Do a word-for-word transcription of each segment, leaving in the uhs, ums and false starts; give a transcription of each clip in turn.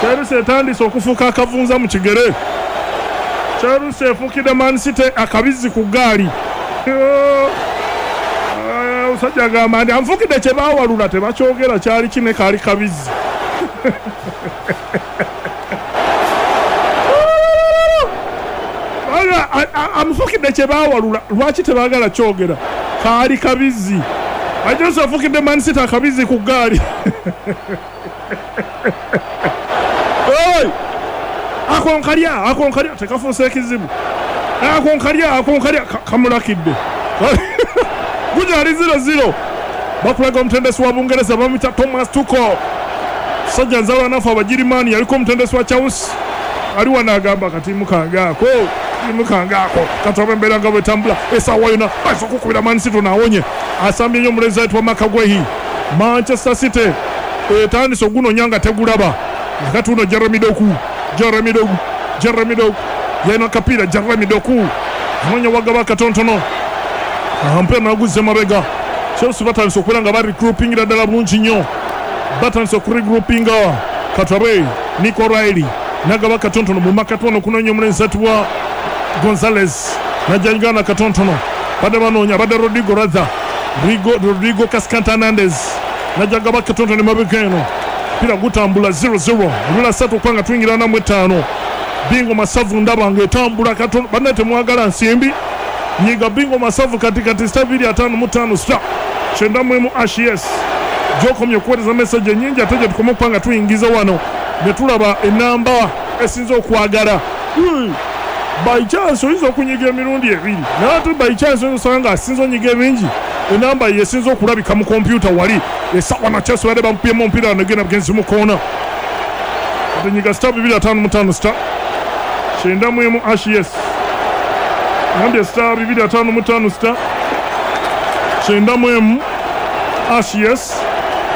Chelsea etandise okufuuka akavunza mu kigere. Chelsea efuukidde Man City akabizzi ku ggaali. Omusajja agamba nti anfuukidde kye baawalula tebakyogera kyali kine kaali kabizzi. Amufuukidde kye baawalula, lwaki tebaagala kyogera? Kaali kabizzi. Chelsea afuukidde Man City akabizzi ku ggaali. Akonkalya akonkalya tekafuuse ekizibu. Akonkalya akonkalya kamulakidde. Gugyali zero zero. Bakulaga omutendesi wa Bungereza bamuyita Thomas Tuchel. Sajja nzalwa nafe Abagirimaani, yaliko omutendesi wa Chelsea. Ali wano agamba katiimu kange ako, katiimu kange ako katulabe embeera nga bwetambula essaawa yonna bayinza okukubira Man City naawonye. Asambye nnyo omulenzi ayitibwa Makagwehi. Manchester City etandise ogunonya nga tegulaba. Kati uno Jeremy Doku, Jeremy Doku, Jeremy Doku yalina akapiira. Jeremy Doku anoonya wagaba akatontono, omupiira naguzza emabega. Chelsea batandise okubeera nga baregroupingira ddala bulungi nnyo, batandise okuregroupinga. Katulabe Nico Riley nagaba katontono mu makati wano okunoonya omulenzi ayitibwa Gonzalez, najjagana katontono. Badde banoonya, badde Rodrigo rather Rodrigo Cascante Hernandez najjagaba katontono emabega eno. Mpira gutambula zero zero, ebula ssatu okuba nga tuyingira namu etaano. Bingo Masavu ndaba ng'etambula katono. Bannaye temwagala nsimbi, nyiga Bingo Masavu kati kati star bbiri ataano mu ttaano star kyenda mu emu hash yes. Gy'okomye okuweereza message ennyingi ate gye tukoma okuba nga tuyingiza wano ne tulaba enamba esinza okwagala. By chance oyinza okunyiga emirundi ebiri, naye ate by chance oyinza osanga ng'asinza onyiga ebingi enamba ye esinza okulabika mu kompyuta wali. Essaawa na Chelsea badde bamukubyemu omupiira negenda bugenzi mu koona. Ate nyiga star bibiri ataano mu ttaano star kyenda mu emu hash yes. Ngambye star bibiri ataano mu ttaano star kyenda mu emu hash yes.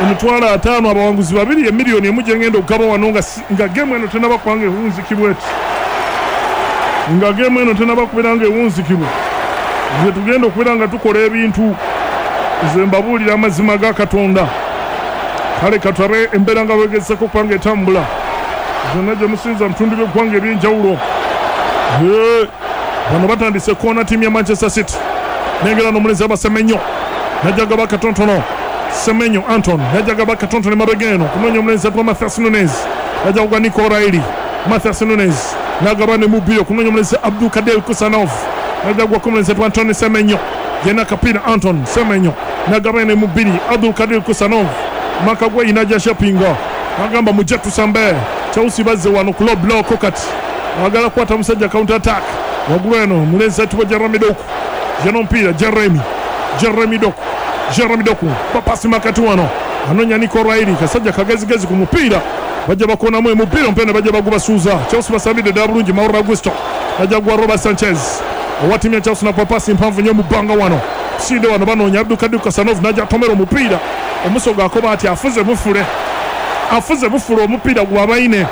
Emitwalo ataano abawanguzi babiri, emiliyoni emu gye ngenda okugaba wano nga, nga geemu eno tenaba kubanga ewunzikibwa eti, nga geemu eno tenaba kubeera nga ewunzikibwa. Nze tugenda okubeera nga tukola ebintu, nze mbabuulira amazima ga Katonda. Kale katulabe embeera nga bwegezesako okuba nga etambula zonna gye musinza mu bitundu by'eggwanga eby'enjawulo. Bano batandise koona ttiimu ya Manchester City. Nengera n'omulenzi aba Semenyo najjagaba katontono. Semenyo Anton najjagaba katontono emabega eno kunoonya omulenzi atwa Mathias Nunes, najja kugwa Nico Riley. Mathias Nunes nagaba ne mubiri okunoonya omulenzi Abdul Kader Kusanov, najja kugwako omulenzi atwa Anton Semenyo. Yena kapiira Anton Semenyo nagaba ne mubiri Abdul Kader Kusanov. Makagweyi najja shapinga agamba mujje tusambe. Chelsea bazze wano ku low block kati agala kukwata musajja counter attack. Waggulu eno mulenzi ayitibwa Jeremy Doku, yena omupiira Jeremy, Jeremy Doku, Jeremy Doku papasi makati wano anoonya Nico Riley, kasajja kagezigezi ku mupiira. Bajja bakonamu omupiira omupiira ne bajja bagubasuuza. Chelsea basambidde ddala bulungi. Mauro Augusto najja gwa Robert Sanchez owa ttiimu ya Chelsea na papasi mpanvu nnyo mu bbanga wano. Sinde wano banoonya Abdul Kadir Khusanov najja atomera omupiira. Omusoga akoba ati afuze bufule, afuze bufule omupiira gwabaine.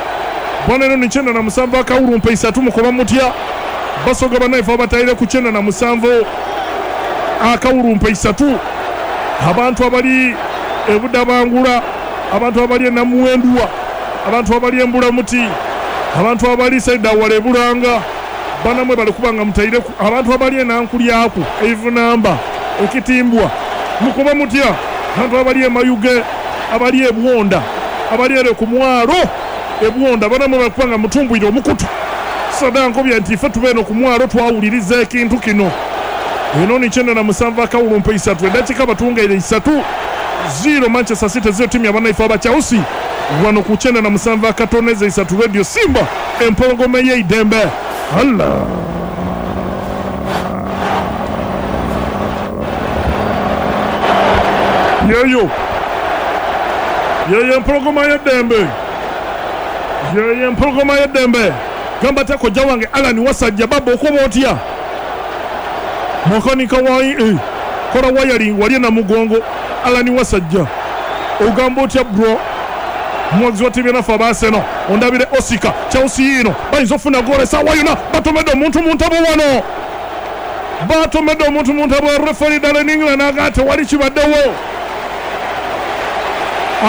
Bwana eno ni kyenda na musanvu akawulumpa isatu mukoba mutya. Basoga bannaife abatayire ku kyenda na musanvu akawulumpa isatu. Abantu abali ebudabangula, abantu abali enamuwenduwa, abantu abali embulamuti, abantu abali saidawala ebulanga, banamwe bali kubanga mutayire, abantu abali enankulyaku eivunamba ekitimbwa mukoba mutya. Abantu abali emayuge, abali ebwonda, abali ere ku mwalo ebwonda, banamwe bali kubanga mutumbwire omukutu. Sada nkobya nti ffe tubeeno ku mwalo twawuliriza ekintu kino. Eno ni kyenda na musanvu akawulumpa isatu, eddakiika batungaire isatu zero Manchester City zero ttiimu y'abannaife aba Chelsea wano ku kyenda na musanvu akatoneza isatu Radio Simba empologoma ey'eidembe. Allah yeyo yeyo empologoma y'eddembe, yeyo empologoma y'eddembe. Gamba atya kojja wange Alan Wasajja baba okoba otya makanika wa eh, kola wiring wali Namugongo. Alan Wasajja ogamba otya bro, muwagizi wa ttiimu yanaffe aba Arsenal. Ondabire Osika Chelsea yiino bayinza okufuna goolo essaawa yonna. Batomedde omuntu mu ntabo wano, batomedde omuntu mu ntabo. Referee Darren England agamba tewali kibaddewo,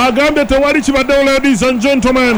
agambye tewali kibaddewo. Ladies and gentlemen,